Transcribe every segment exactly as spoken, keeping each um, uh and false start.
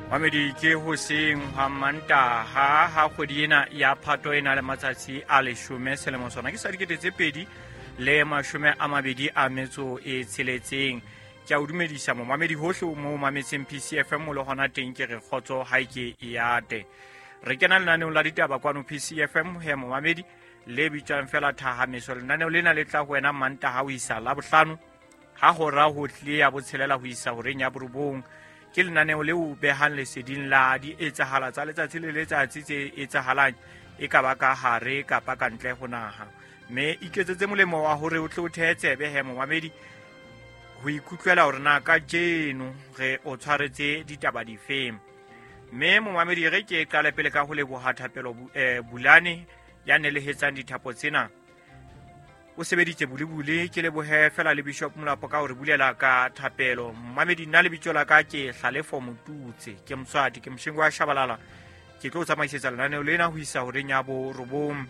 Mamedi ke hoseng ha Mantaha ha kgwedi ena ya Phato e na le matsatsi a leshome selemo sona ke sa dikete tse pedi le mashome a mabedi a metso e tsheletseng. Ke a o dumedisa momamedi hohle mo mametseng P C F M le hona teng ke re kgotso ha ke e ate. Re kena lenaneong la ditaba kwano P C F M he momamedi le bitswang fela Thahameso. Lenaneo lena le tla ho wena Mantaha ho isa Labohlano ha hora ho tlile ya botshelela ho isa horeng ya borobong. Ke lenaneo leo behang leseding la di etsahala tsa letsatsi le letsatsi tse etsahalang e ka ba ka hare kapa ka ntle ho naha. Mme iketsetse molemo wa hore o tle o thehe tsebe he momamedi ho ikutlwela hore na kajeno re o tshwaretse ditaba difeng. Mme momamedi re ke qale pele ka ho leboha Thapelo Bulane ya nelehetsang dithapo tsena. O sebeditse bulebule, ke lebohe fela le Bishop Molapo ka hore bulela ka thapelo. Mamedi nna lebitso la ka ke Hlalefo Motutse, ke Moswati, ke Moshengo wa Shabalala. Ke tlo tsamaisetsa lenaneo lena ho isa horeng ya borobong.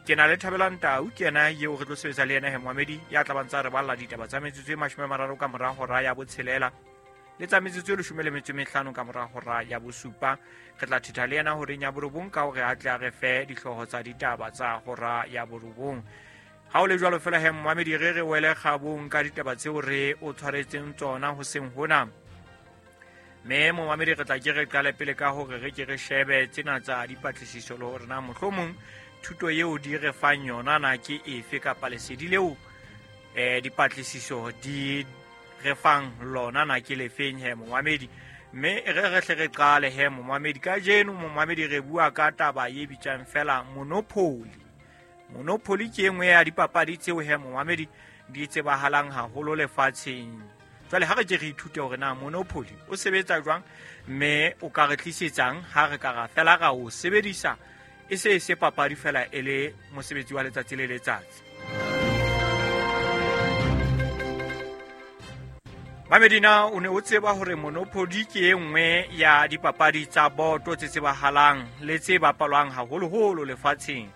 Ke na le Thabelang Tau, ke yena eo re tlo sebetsa le yena he momamedi ya tla ba ntsa re balla ditaba tsa metsotso e mashome a mararo ka mora hora ya botshelela le tsa metsotso e leshome le metso e mehlano ka mora hora ya bosupa. Re tla thetha le yena horeng ya borobong ka hore a tle a re fe dihlooho tsa ditaba tsa hora ya borobong. Ha o le jwalo fela he momamedi re re wele kgabong ka ditaba tseo re o tshwaretseng tsona hoseng hona. Mme momamedi re tla ke re qale pele ka hore re ke re shebe tsena tsa dipatlisiso le hore na mohlomong thuto eo di re fang yona na ke efe kapa lesedi leo eh dipatlisiso di re fang lona na ke lefeng he momamedi. Mme re re hle re qale he momamedi kajeno momamedi re bua ka taba e bitswang fela Monopoly. Monopoly ke engwe ya dipapadi tseo he momamedi di tsebahalang haholo lefatsheng. Jwale ha re ke re ithute hore na Monopoly o sebetsa jwang mme o ka re tlisetsang ha re ka ra fela ra o sebedisa e se se papadi fela e le mosebetsi wa letsatsi le letsatsi. Mamedina o ne o tseba hore Monopoly ke e nngwe ya dipapadi tsa boto tse tsebahalang le tse bapalwang haholoholo lefatsheng.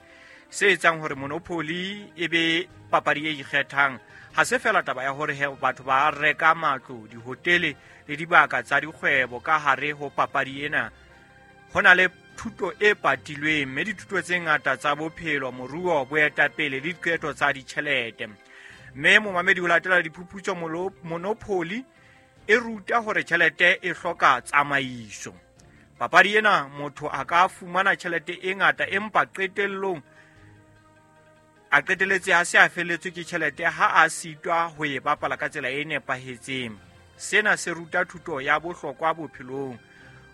Se etsang hore Monopoly e be papadi e ikgethang ha se fela taba ya hore he batho ba reka matlo, dihotele le dibaka tsa dikgwebo ka hare ho papadi ena. Ho na le thuto e patilweng mme dithuto tse ngata tsa bophelo, moruo, boetapele le diqeto tsa ditjhelete. Mme momamedi ho latela diphuputso Monopoly e ruta hore tjhelete e hloka tsamaiso. Papadi ena motho a ka fumana tjhelete e ngata empa qetellong a qeteletse a se a felletswe ke tjhelete ha a sitwa ho e bapala ka tsela e nepahetseng. Sena se ruta thuto ya bohlokwa bophelong.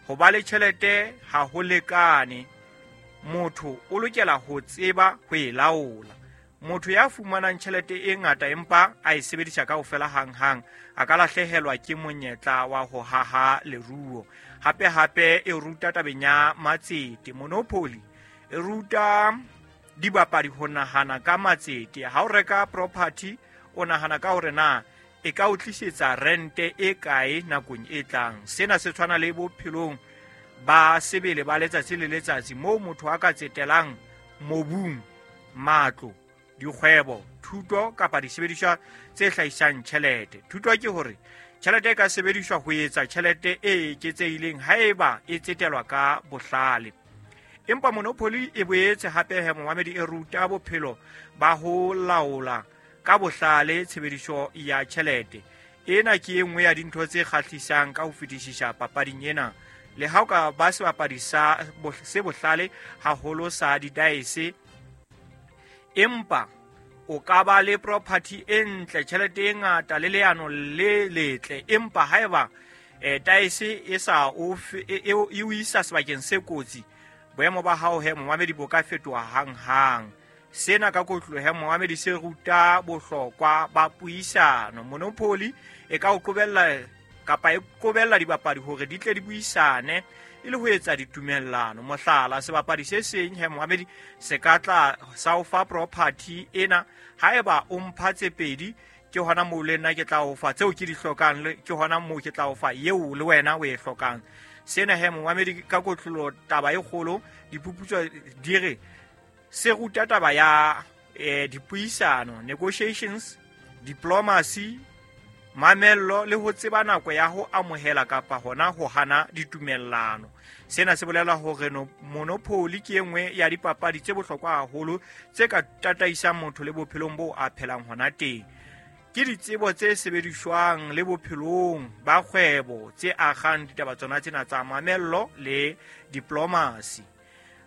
Ho ba le tjhelete ha ho lekane, motho o lokela ho tseba ho e laola. Motho ya fumanang tjhelete e ngata empa a e sebedisa kaofela hanghang a ka lahlehelwa ke monyetla wa ho haha leruo. Hape hape e ruta tabeng ya matsete. Monopoly e ruta dibapadi ho nahana ka matsete. Ha o reka property o nahana ka hore na e ka o tlisetsa rente e kae nakong e tlang. Sena se tshwana le bophelong ba sebele ba letsatsi le letsatsi moo motho a ka tsetelang mobung, matlo, dikgwebo, thuto kapa disebediswa tse hlahisang tjhelete. Thuto ke hore tjhelete e ka sebediswa ho etsa tjhelete e eketsehileng haeba e tsetelwa ka bohlale. Empa Monopoly e boetse hape he momamedi e ruta bophelo ba ho laola ka bohlale tshebediso ya tjhelete. Ena ke e nngwe ya dintho tse kgahlisang ka ho fetisisa papading ena. Le ha o ka ba sebapadi sa se bohlale haholo sa didaese, empa o ka ba le property e ntle, tjhelete e ngata le leano le letle, empa haeba eh daese e sa o e o isa sebakeng se kotsi, boemo ba hao he momamedi bo ka fetoha hanghang. Sena ka kotlo he momamedi se ruta bohlokwa ba puisano. Monopoly e ka o qobella kapa e qobella dibapadi hore di tle di buisane e le ho etsa ditumellano. Mohlala, sebapadi se seng he momamedi se ka tla sa o fa property ena haeba o mpha tse pedi, ke hona moo le nna ke tla o fa tseo ke di hlokang, ke hona moo ke tla o fa eo le wena o e hlokang. Sena he momamedi ka kotlolo taba e kgolo, diphuputso di re se ruta taba ya eh, dipuisano, negotiations, diplomacy mamello le ho tseba nako ya ho amohela kapa hona ho hana ditumellano. Sena se bolela hore no Monopoly ke e nngwe ya dipapadi tse bohlokwa haholo tse ka tataisang motho le bophelong bo a phelang hona teng. Ke ditsebo tse sebediswang le bophelong ba kgwebo tse agang ditaba tsona tsena tsa mamello le diplomacy.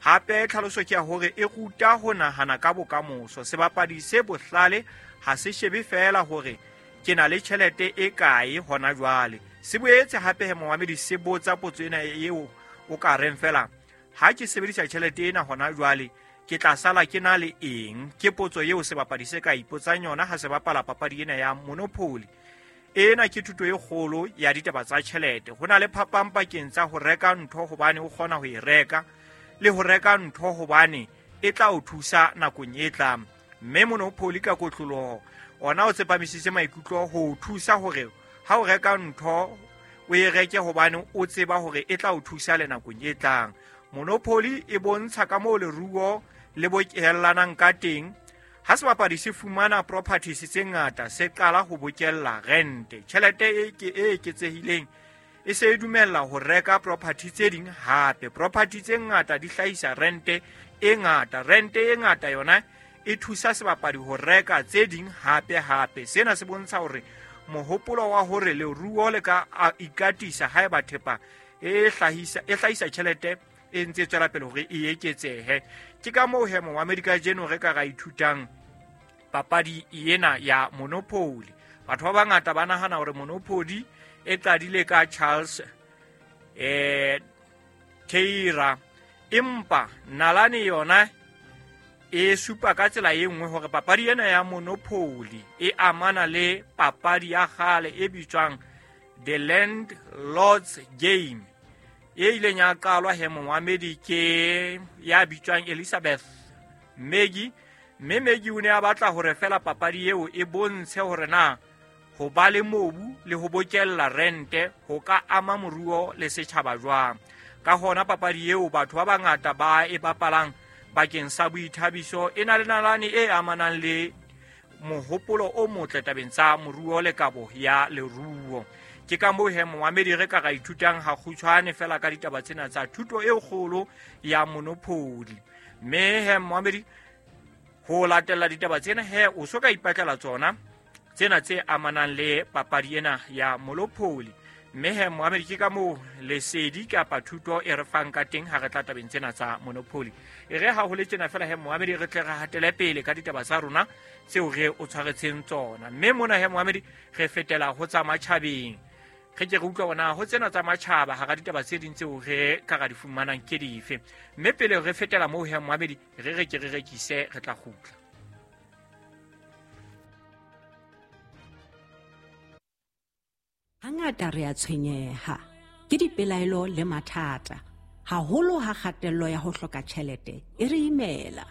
Hape tlhaloso ke ya hore e ruta ho nahana ka bokamoso. Sebapadi se bohlale ha se shebe feela hore ke na le tjhelete e kae hona jwale. Se boetse hape he momamedi se botsa potso ena eo o ka reng fela, ha ke sebedisa tjhelete ena hona jwale ke tla sala ke na le eng? Ke potso eo sebapadi se ka ipotsang yona ha se bapala papadi ena ya Monopoly. Ena ke thuto e kgolo ya ditaba tsa tjhelete. Ho na le phapang pakeng tsa ho reka ntho hobane o kgona ho e reka le ho reka ntho hobane e tla o thusa nakong e tlang. Mme Monopoly ka kotloloho ona o tsepamisitse maikutlo ho o thusa hore ha o reka ntho o e reke hobane o tseba hore e tla o thusa le nakong e tlang. Monopoly e bontsha ka moo leruo le bokellanang ka teng. Ha sebapadi se fumana properties tse ngata, se qala ho bokella rente. Tjhelete e ke e eketsehileng e se e dumella ho reka property tse ding hape. Property tse ngata di hlahisa rente e ngata. Rente e ngata yona e thusa sebapadi ho reka tse ding hape hape. Sena se bontsha hore mohopolo wa hore leruo le ka ikatisa haeba thepa e hlahisa e hlahisa tjhelete e ntse tswela pele hore e eketsehe. Ke ka moo he momamedi kajeno re ka ra ithutang papadi ena ya Monopoly. Batho ba bangata ba nahana hore Monopoly e qadile ka Charles eh Taylor, empa nalane yona e supa ka tsela e nngwe hore papadi ena ya Monopoly e amana le papadi ya kgale e bitswang The Landlord's Game e ileng ya qalwa he momamedi ke ya bitswang Elizabeth Maggie. Mme Maggie o ne a batla hore fela papadi eo e bontshe hore na ho ba le mobu le ho bokella rente ho ka ama moruo le setjhaba jwang. Ka hona papadi eo batho ba bangata ba e bapalang bakeng sa boithabiso e na le nalane e amanang le mohopolo o motle tabeng tsa moruo le kabo ya leruo. Ke ka moo he momamedi re ka ra ithutang ha kgutshwane fela ka ditaba tsena tsa thuto e kgolo ya Monopoly. Mme he momamedi, ho latella ditaba tsena he o so ka ipatlela tsona tsena tse amanang le papadi ena ya Monopoly. Mme he momamedi, ke ka moo lesedi kapa thuto e re fang ka teng ha re tla tabeng tsena tsa Monopoly. E re ha ho le tjena fela he momamedi, re tle re hatele pele ka ditaba tsa rona tseo re o tshwaretseng tsona. Mme mona he momamedi, re fetela ho tsa matjhabeng. Re ke re utlwa bona ho tsena tsa matjhaba hara ditaba tse ding tseo re ka ra di fumanang ke dife. Mme pele re fetela moo he momamedi, re re ke re rekise, re tla kgutla. Hangata re a tshwenyeha ke dipelaelo le mathata, haholo ha kgatello ya ho hloka tjhelete e re imela.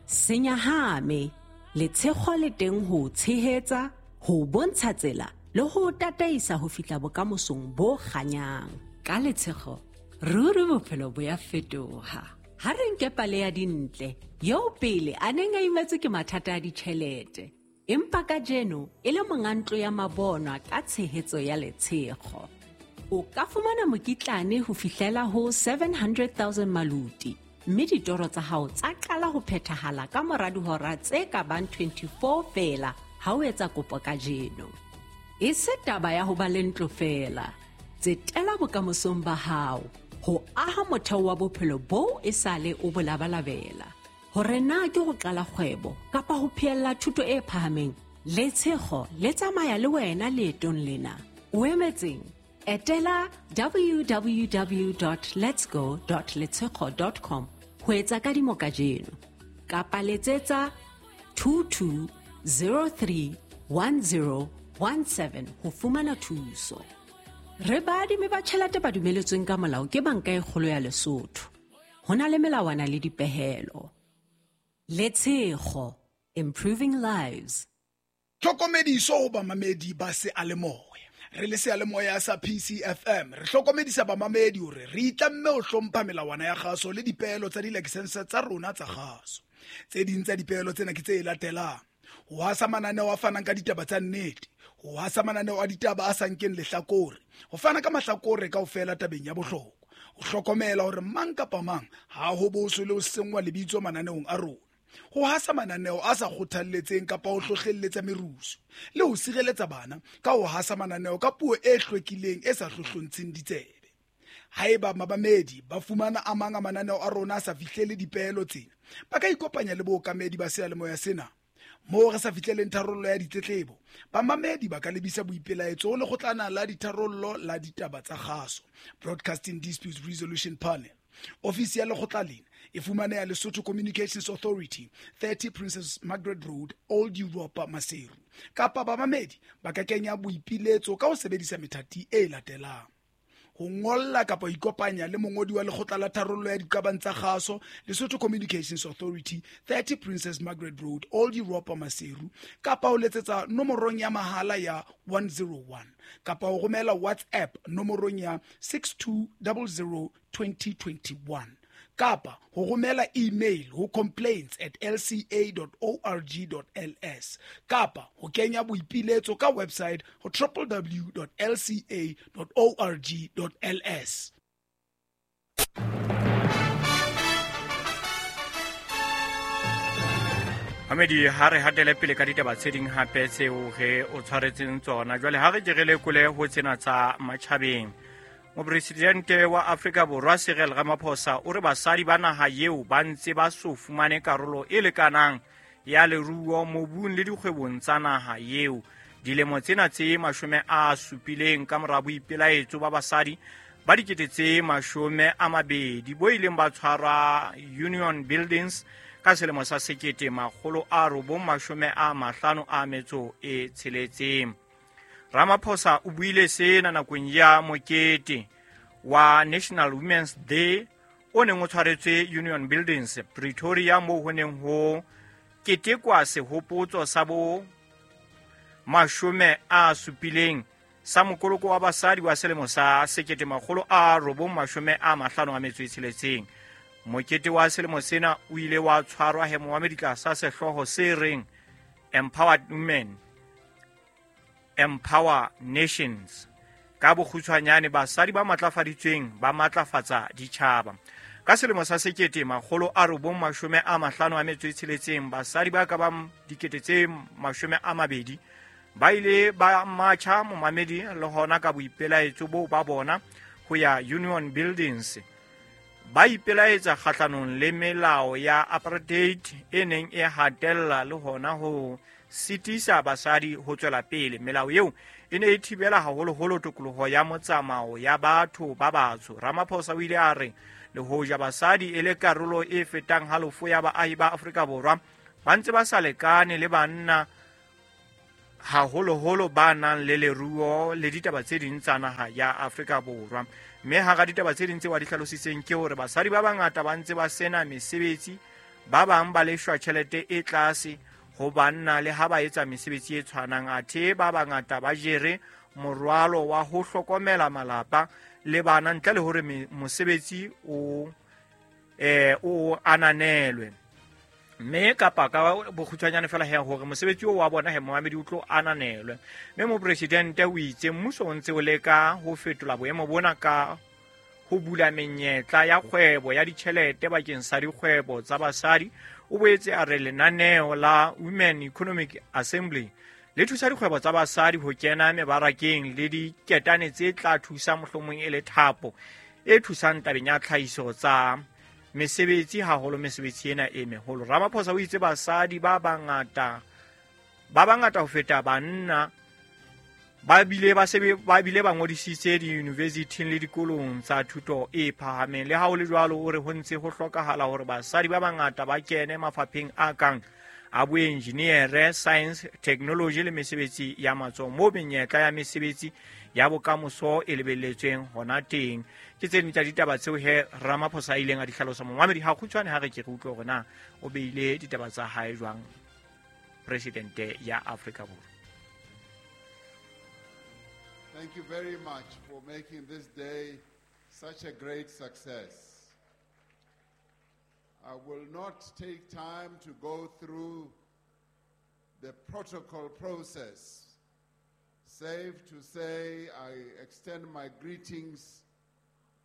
Senyahame, letshego le teng ho tshehetsa, ho bontsha tsela le ho tataisa ho fihla bokamosong bo kganyang. Ka letshego, ruri bophelo bo ya fetoha. Ha re nke pale ya Dintle, eo pele a neng a imetswe ke mathata a ditjhelete, empa kajeno e le monga ntlo ya mabonwa ka tshehetso ya letshego. O ka fumana mokitlane ho fihlela ho seven hundred thousand maluti, mme ditoro tsa hao tsa qala ho phethahala ka mora dihora tse ka bang twenty-four feela ha o etsa kopo kajeno. E se taba ya ho ba le ntlo feela, tsetela bokamosong ba hao ho aha motheo wa bophelo boo e sale o bo labalabela. Hore na ke ho qala kgwebo kapa ho phehella thuto e phahameng, letshego le tsamaya le wena leetong lena. O emetseng? Etela w w w dot letsgo dot letshego dot com ho etsa kadimo kajeno, kapa letsetsa two two zero three one zero one seven ho fumana thuso. Re baadimi ba tjhelete ba dumeletsweng ka molao ke Banka e Kgolo ya Lesotho. Ho na le melawana le dipehelo. Letshego, improving lives. Tlhokomediso ho bamamedi ba seyalemoya. Re le seyalemoya sa P C F M, re hlokomedisa bamamedi hore re itlamme ho hlompha melawana ya kgaso le dipehelo tsa di-license tsa rona tsa kgaso. Tse ding tsa dipehelo tsena ke tse latelang: ho hasa mananeo a fanang ka ditaba tsa nnete, Ho hasa mananeo a ditaba a sa nkeng lehlakore, ho fana ka mahlakore kaofela tabeng ya bohlokwa, ho hlokomela hore mang kapa mang ha ho boswe le ho senngwa lebitso mananeong a rona, ho hasa mananeo a sa kgothalletseng kapa ho hlohlelletsa merusu, le ho sireletsa bana ka ho hasa mananeo ka puo e hlwekileng e sa hlohlontsheng ditsebe. Haeba mamamedi ba fumana a mang a mananeo a rona a sa fihlele dipeelo tsena, ba ka ikopanya le bookamedi ba seyalemoya sena. Moo re sa fihleleng tharollo ya ditletlebo, bamamedi ba ka lebisa boipelaetso ho lekgotlana la ditharollo la ditaba tsa kgaso, Broadcasting Disputes Resolution Panel. Ofisi ya lekgotla lena e fumaneha Lesotho Communications Authority, thirty Princess Margaret Road, Old Europa, Maseru. Kapa bamamedi ba ka kenya boipiletso ka ho sebedisa methati e latelang: ho ngolla kapa ho ikopanya le mongodi wa lekgotla la tharollo ya diqabang tsa kgaso, Lesotho Communications Authority, thirty Princess Margaret Road, Old Europa, Maseru, kapa ho letsetsa nomorong ya mahala ya one zero one, kapa ho romela WhatsApp nomorong ya six two zero zero twenty twenty-one, kapa ho romela email ho complaints at l c a dot org dot l s, kapa ho kenya boipiletso ka website ho w w w dot l c a dot org dot l s. Mamedi, ha re hatele pele ka ditaba tse ding hape tseo re o tshwaretseng tsona. Jwale ha re ke re lekole ho tsena tsa matjhabeng. Mopresidente wa Afrika Borwa Cyril Ramaphosa o re basadi ba naha eo ba ntse ba so fumane karolo e lekanang ya leruo mobung le dikgwebong tsa naha eo. Dilemo tsena tse mashome a supileng ka mora boipelaetso ba basadi ba dikete tse mashome a mabedi bo ileng ba tshwarwa Union Buildings ka selemo sa sekete makgolo a robong mashome a mahlano a metso e tsheletseng. Ramaphosa o buile sena nakong ya mokete wa National Women's Day o neng o tshwaretswe Union Buildings Pretoria, moo ho neng ho ketekwa sehopotso sa bo mashome a supileng sa mokoloko wa basadi wa selemo sa sekete makgolo a robong mashome a mahlano a metso e tsheletseng. Mokete wa selemo sena o ile wa tshwarwa he momamedi tlasa sehlooho se reng Empowered Women Empower Nations. Ka bokgutshwanyane, basadi ba matlafaditsweng ba matlafatsa ditjhaba. Ka selemo sa sekete makgolo a robong mashome a mahlano a metso e tsheletseng, basadi ba ka bang dikete tse mashome a mabedi ba ile ba matjha momamedi le hona ka boipelaetso boo ba bona ho ya Union Buildings. Ba ipelaetsa kgahlanong le melao ya apartheid e neng e hatella le hona ho sitisa basadi ho tswela pele. Melao eo e ne e thibela haholoholo tokoloho ya motsamao ya batho ba batsho. Ramaphosa o ile a re le hoja basadi e le karolo e fetang halofo ya baahi ba Afrika Borwa, ba ntse ba sa lekane le banna haholoholo ba nang le leruo le ditaba tse ding tsa naha ya Afrika Borwa. Mme hara ditaba tse ding tse wa di hlalositseng ke hore basadi ba bangata ba ntse ba sena mesebetsi, ba bang ba leshwa tjhelete e tlase ho banna le ha ba etsa mesebetsi e tshwanang, athe ba bangata ba jere morwalo wa ho hlokomela malapa le bana ntle le hore mosebetsi o eh o ananelwe. Mme kapa ka bokgutshwanyane fela he hore mosebetsi o wa bona he momamedi o tlo ananelwe. Mme mopresidente o itse mmuso o ntse o leka ho fetola boemo bona ka ho bula menyetla ya kgwebo ya ditjhelete bakeng sa dikgwebo tsa basadi. O boetse a re lenaneo la Women Economic Assembly le thusa dikgwebo tsa basadi ho kena mebarakeng le diketane tse tla thusa mohlomong e le thapo e thusang tabeng ya tlhahiso tsa mesebetsi, haholo mesebetsi ena e meholo. Ramaphosa o itse basadi ba bangata ba bangata ho feta banna ba bile ba sebe ba bile ba ngodisitse di-university le dikolong tsa thuto e phahameng. Le ha ho le jwalo, o re ho ntse ho hlokahala hore basadi ba bangata ba kene mafapheng a kang a boenjiniere, science, technology le mesebetsi ya matsoho, moo menyetla ya mesebetsi ya bokamoso e lebelletsweng hona teng. Ke tse ding tsa ditaba tseo he Ramaphosa a ileng a di hlalosa. Momamedi, ha kgutshwane ha re ke re utlwe hore na o beile ditaba tsa hae jwang presidente ya Afrika Borwa. Thank you very much for making this day such a great success. I will not take time to go through the protocol process, Safe to say, I extend my greetings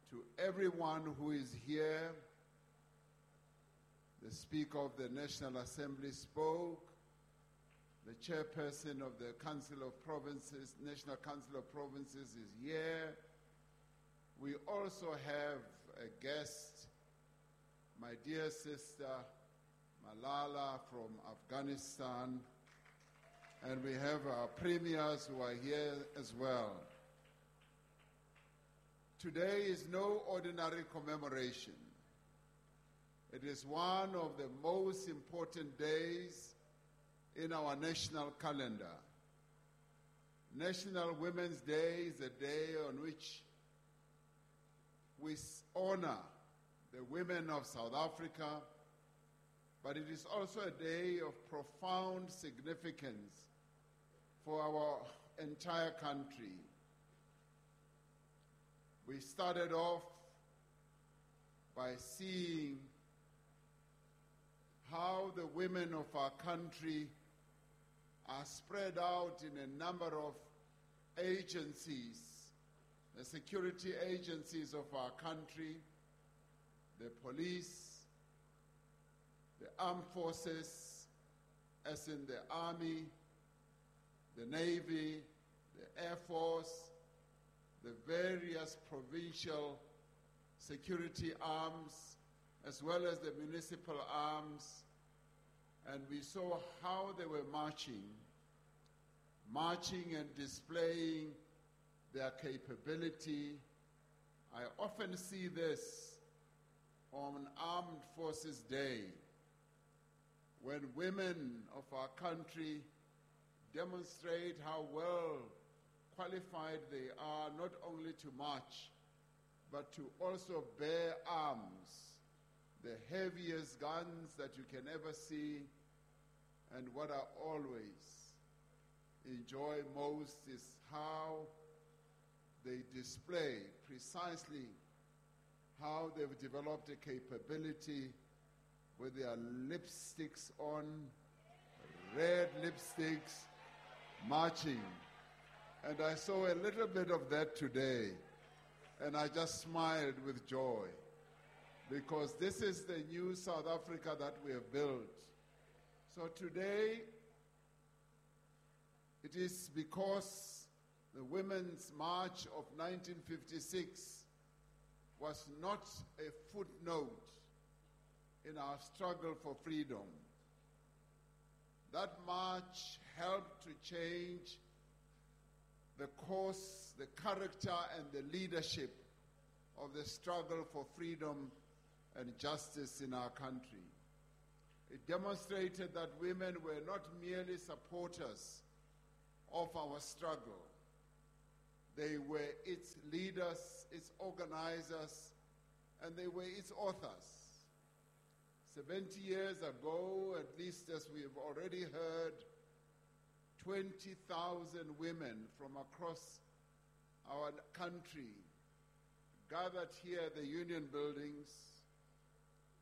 to everyone who is here. The Speaker of the National Assembly spoke. The chairperson of the Council of Provinces, National Council of Provinces, is here. We also have a guest, my dear sister Malala from Afghanistan, and we have our premiers who are here as well. Today is no ordinary commemoration. It is one of the most important days in our national calendar. National Women's Day is a day on which we honor the women of South Africa, but it is also a day of profound significance for our entire country. We started off by seeing how the women of our country are spread out in a number of agencies, the security agencies of our country, the police, the armed forces, as in the army, the navy, the air force, the various provincial security arms, as well as the municipal arms. And we saw how they were marching, marching and displaying their capability. I often see this on Armed Forces Day, when women of our country demonstrate how well qualified they are not only to march, but to also bear arms, the heaviest guns that you can ever see. And what I always enjoy most is how they display precisely how they've developed a capability with their lipsticks on, red lipsticks, marching. And I saw a little bit of that today, and I just smiled with joy, because this is the new South Africa that we have built. So today, it is because the Women's March of nineteen fifty-six was not a footnote in our struggle for freedom. That march helped to change the course, the character, and the leadership of the struggle for freedom and justice in our country. It demonstrated that women were not merely supporters of our struggle. They were its leaders, its organizers, and they were its authors. seventy years ago, at least as we have already heard, twenty thousand women from across our country gathered here at the Union Buildings.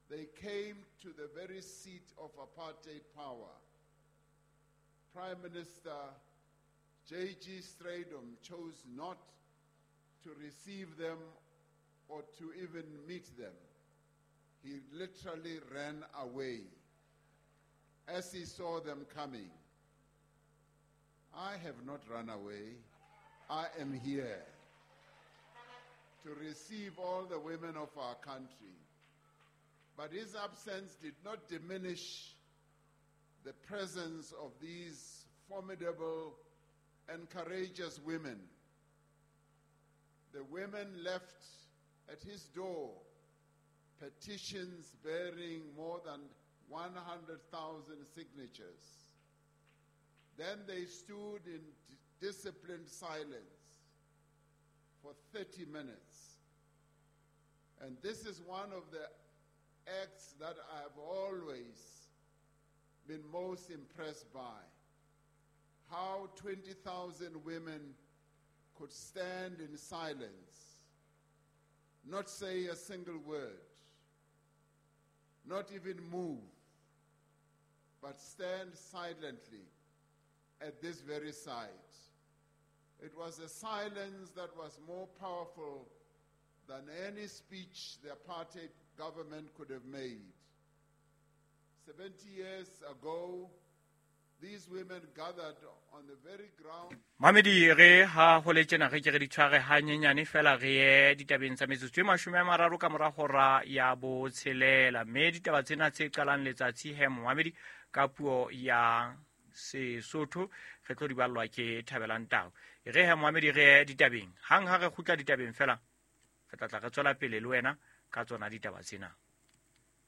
They came to the very seat of apartheid power. Prime Minister J G Strijdom chose not to receive them or to even meet them. He literally ran away as he saw them coming. I have not run away. I am here to receive all the women of our country. But his absence did not diminish the presence of these formidable and courageous women. The women left at his door petitions bearing more than one hundred thousand signatures. Then they stood in disciplined silence for thirty minutes. And this is one of the acts that I have always been most impressed by. How twenty thousand women could stand in silence, not say a single word, not even move, but stand silently at this very site. It was a silence that was more powerful than any speech the apartheid government could have made. Seventy years ago, these women gathered on the very ground. Mamedi, re ha ho le tjena re ke re di tshware hanyenyane fela re ye ditabeng tsa metsotso e mashome a mararo ka mora hora ya botshelela, mme ditaba tsena tse qalang letsatsi he momamedi ka puo ya Sesotho re tlo di ballwa ke Thabelang Tau. E re he momamedi re ye ditabeng, hang ha re kgutla ditabeng fela re tla tla re tswela pele le wena ka tsona ditaba tsena.